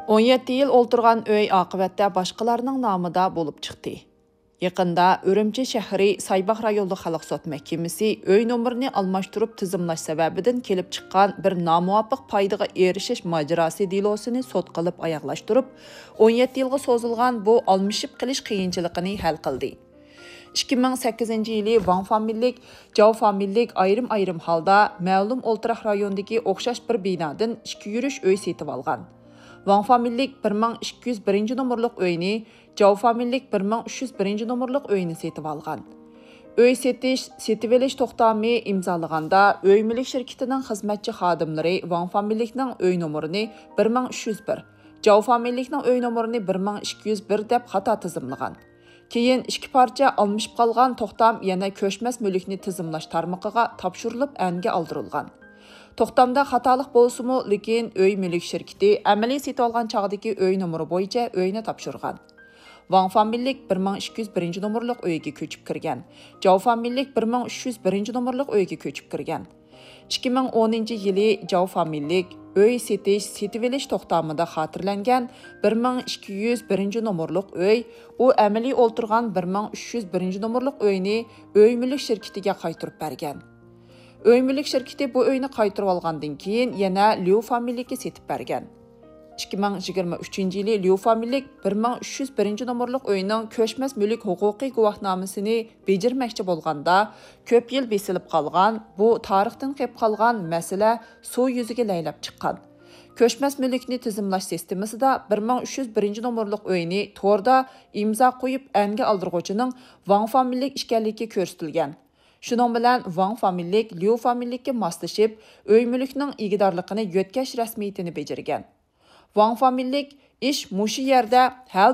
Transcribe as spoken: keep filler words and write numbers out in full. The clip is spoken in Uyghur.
ئون يەتتە يىل ئولتۇرغان ئۆي ئاقىۋەتتە باشقىلارنىڭ نامىدا بولۇپ چىقتى. يېقىندا ئۈرۈمچى شەھىرى سايباغ رايونلۇق خەلق سوت مەھكىمىسى ئۆي نومۇرىنى ئالماشتۇرۇپ تىزىملاش سەۋەبىدىن كېلىپ چىققان بىر نامۇۋاپىق پايدىغا ئېرىشىش ماجىراسى دېلوسىنى سوت قىلىپ ئاياغلاشتۇرۇپ، ئون يەتتە يىلغا سوزۇلغان بۇ ئالمىشىپ قېلىش قىيىنچىلىقىنى ھەل قىلدى. ئىككى مىڭ سەككىزىنچى يىلى ۋاڭ فامىلىلىك، جاۋ فامىلىلىك ئايرىم-ئايرىم ھالدا مەلۇم ئولتۇراق رايونىدىكى ئوخشاش بىر بىنادىن ئىككى يۈرۈش ئۆي سېتىۋالغان. ۋاڭ فامىلىلىك بىر مىڭ ئىككى يۈز بىرىنچى نومۇرلۇق ئۆينى، جاۋ فامىلىلىك بىر مىڭ ئۈچ يۈز بىرىنچى نومۇرلۇق ئۆينى سېتىۋالغان. ئۆي سېتىش، سېتىۋېلىش توختامى ئىمزالىغاندا، ئۆي مۈلۈك شىركىتىنىڭ خىزمەتچى خادىملىرى ۋاڭ فامىلىلىكنىڭ ئۆي نومۇرىنى بىر مىڭ ئۈچ يۈز بىر، جاۋ فامىلىلىكنىڭ ئۆي نومۇرىنى بىر مىڭ ئىككى يۈز بىر دەپ خاتا تىزىملىغان. كېيىن ئىككى پارچە ئالمىشىپ قالغان توختام يەنە كۆچمەس مۈلۈكنى تىزىملاش تارمىقىغا تاپشۇرۇلۇپ ئەنگە ئالدۇرۇلغان. توختامدا خاتالىق بولسىمۇ، لېكىن ئۆي مۈلۈك شىركىتى ئەمەلىي سېتىۋالغان چاغدىكى ئۆي نومۇرى بويىچە ئۆينى تاپشۇرغان. ۋاڭ فامىلىلىك بىر مىڭ ئىككى يۈز بىرىنچى نومۇرلۇق ئۆيگە كۆچۈپ كىرگەن. جاۋ فامىلىلىك بىر مىڭ ئۈچ يۈز بىرىنچى نومۇرلۇق ئۆيگە كۆچۈپ كىرگەن. ئىككى مىڭ ئونىنچى يىلى جاۋ فامىلىلىك ئۆي سېتىش، سېتىۋېلىش توختامىدا خاتىرىلەنگەن بىر مىڭ ئىككى يۈز بىرىنچى نومۇرلۇق ئۆي، ئۇ ئەمەلىي ئولتۇرغان بىر مىڭ ئۈچ يۈز بىرىنچى نومۇرلۇق ئۆينى ئۆي مۈلۈك شىركىتىگە قايتۇرۇپ بەرگەن. ئۆي مۈلۈك شىركىتى بۇ ئۆينى قايتۇرۇۋالغاندىن كېيىن يەنە ليۇ فامىلىلىككە سېتىپ بەرگەن. ئىككى مىڭ يىگىرمە ئۈچىنچى يىلى ليۇ فامىلىلىك بىر مىڭ ئۈچ يۈز بىرىنچى نومۇرلۇق ئۆينىڭ كۆچمەس مۈلۈك ھوقۇقىي گۇۋاھنامىسىنى بېجىرمەكچى بولغاندا، كۆپ يىل بېسىلىپ قالغان، بۇ تارىختىن قېلىپ قالغان مەسىلە سۇ يۈزىگە لەيلەپ چىققان. كۆچمەس مۈلۈكنى تىزىملاش سىستېمىسىدا بىر مىڭ ئۈچ يۈز بىرىنچى نومۇرلۇق ئۆينى توردا ئىمزا قويۇپ ئەنگە ئالدۇرغۇچىنىڭ ۋاڭ فامىلىلىك ئىكەنلىكى كۆرسىتىلگەن. شۇنىڭ بىلەن ۋاڭ فامىلىلىك ليۇ فامىلىلىككە ماسلىشىپ، ئۆي مۈلۈكنىڭ ئىگىدارلىقىنى يۆتكەش رەسمىيىتىنى بېجىرگەن. ۋاڭ فامىلىلىك ئىش مۇشۇ يەردە ھەل